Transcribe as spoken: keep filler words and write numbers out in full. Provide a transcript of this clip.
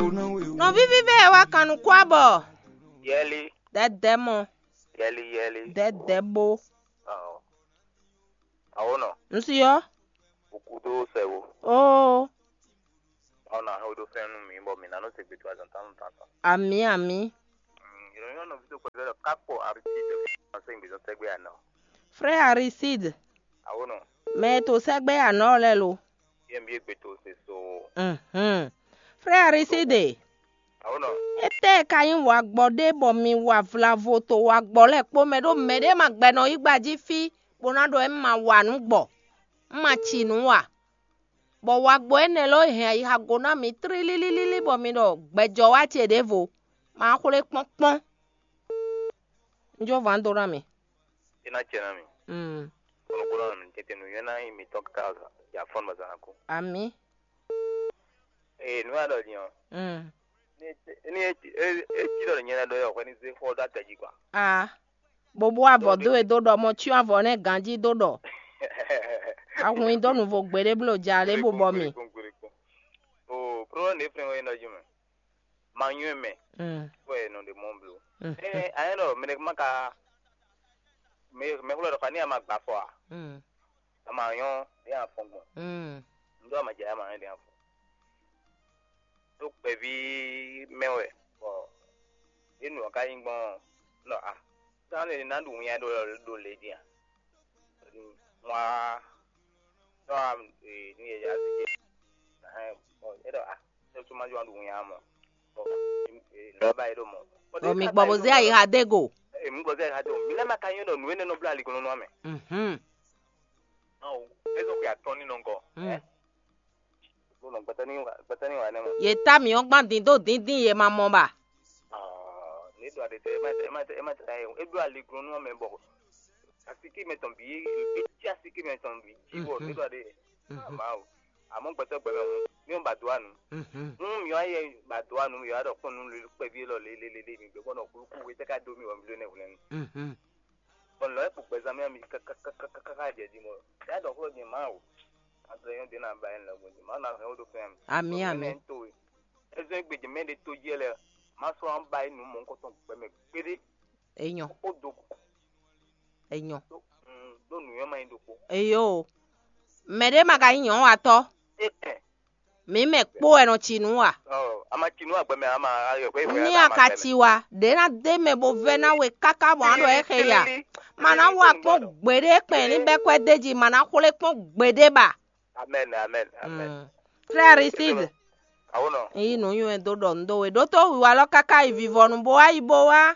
Nɔví vívɛ e wá kan nukún abɔ. Yɛli, Dɛdɛ mɔ, yɛli, yɛli. Dɛdɛ bo. Ɔɔ. Awo nɔ. Nsi yɔ. Ukudo sɛwo. Oo. Awo na hɛn do fɛn nu mi bɔ mi na no se gbe to azan tan tan tan. Ami ami. Yɔrɔ yɔrɔ nɔ fi to kpɛtɛ lɔ kakpo arisi de. Ɔsɛ gbe zɔn sɛgbe anɔ. Frère Aristide. Awo nɔ. Mɛ to sɛgbe anɔ lɛ lo. Yɛ mi gbe to se so. Mhm. Frère Aristide. Awo nɔ. Étɛ́ ka nyí wagbɔ ɖé bɔ mi wa vlavo to wagbɔ lɛ́ɛ kpó mɛ ɖó mɛɖé ma gbɛ nɔ yí gba jí fí bó ná ɖɔ é ma wa nǔ gbɔ, un ma ci nǔ a? Bɔ wagbɔ énɛ́ lɔ hɛn ayixa go ná mi tlílílílí bɔ mi ɖɔ gbɛjɔ́ wá ce ɖěvo, ma xwlé kpɔ́nkpɔ́n. Un jó van dó ná mi. É ná cɛ ná mi. Mm. Kɔnɔkɔnɔ mi tete nu yɛn ná yi mi tɔn ka ya fɔn ma zan ko. Ami. Ee nu ya ɖɔ din ɔ. Mm. Ni e ti ɖɔ nyɛ na ɖɔ yɔ hwɛ ni ze xɔ ɖo akɛ jí kwa. Ah. Bobo avɔ do e do ɖɔ mɔ cyɔ avɔ nɛ ganji do ɖɔ. Ahun yi dó nuvo gbeɖé blo ja lé bubɔ mi. O problème de fɛn wɛ nɔ jí mɛ. Ma nyɔɛ mɛ. Mm. Wɛ nɔ de mɔ blo. Mm. Ee ayɛ nɔ mɛ ma ka mɛ mɛ xlɔ dɔ ka ni ama gba fɔ a. Mm. Ama nyɔ de afɔ gbɔn. Mm. Ndo ama jɛ ama nyɔ de afɔ. Tó kpɛví mɛ wɛ bɔ enu ɔ ka nyí gbɔn nɔ a. Sán lè ná ɖu winnyá ɖo ɖo lě din a? Wá tɔ́ a ní yɛ yá sí jɛ. Bɔ é ɖɔ a é tún má jɔ ɖu winnyá mɔ. Bɔ lɔba é ɖo mɔ. Bɔ mi gbɔ bó zé ayixa dé go. Èmi gbɔ zé ayixa dé o. Mi lɛ ma ka nyɔ ɖɔ nǔ énɛ́ nɔ bló aliglɔnɔ amɛ. Mhm. Ɔ é zɔ xwe atɔn ní nɔ gɔ. Mm. Bó nɔ gbɛtɛ ní wa gbɛtɛ ní wa nɛ mɔ. Ye ta mi ɔ́ gbán dín dó díndín ye ma mɔ ba. Ne ɖo aɖe tɛ ema tɛ ema tɛ ema tɛ e ɖo aliglɔnú mɛ bɔ asike mɛ tɔn bi etí asike mɛ tɔn bi dzi bɔ ne ɖo aɖe ma o. Àmọ́ gbɛtɔ gbɛmɛ hùn mi ò ba do anu. Hùn mi wá yɛ ba do anu mi wá ɖɔ kpɔn nu kpɛvi lɔ lelelele mi gbɛ kpɔn nɔ kúlúkú wetɛ ká do mi wɔ mi lé nɛ hwlɛnu. Bɔn lɔ ekpo gbɛzán mɛ mi kaka jɛ di mɔ ya ɖɔ xlɔ jɛ ma o. Adre yɔn de na ba yɛn lɛ gbɔn jɛ ma na hɛn o do fɛn mi. Ami ami. To ezɔn gbedze mɛ de to jɛ lɛ ma sɔ an ba yi nu mɔ nkɔtɔn gbɛmɛ gbede. Enyɔ. O do. Enyɔ. Do mm do nu yɔn ma yi do ko. Eyo. Mɛ ɖé ma ka nyí nyɔ̌watɔ́. E ɛ. Mǐ mɛ kpó wɛ nɔ ci nǔ a? Ɔ ama ci nǔ agbɛ mɛ ama ayɔ gbɛ. Ní a ka ci wa ɖě ná dé mɛ bó vɛ́ ná we káká bɔ á ɖɔ é xe ya. Ma ná wa kpɔ́n gbeɖé kpɛn ní bɛ́ kwɛ́ d'é jí, ma ná xwlé kpɔ́n gbeɖé ba. Amen, amen, amen. Frère Aristide. Awo nɔ. Yí nǔ nywɛ dó ɖɔ nǔ dó we ɖótó wiwa lɔ káká yi vivɔnu bó wá yi bó wá.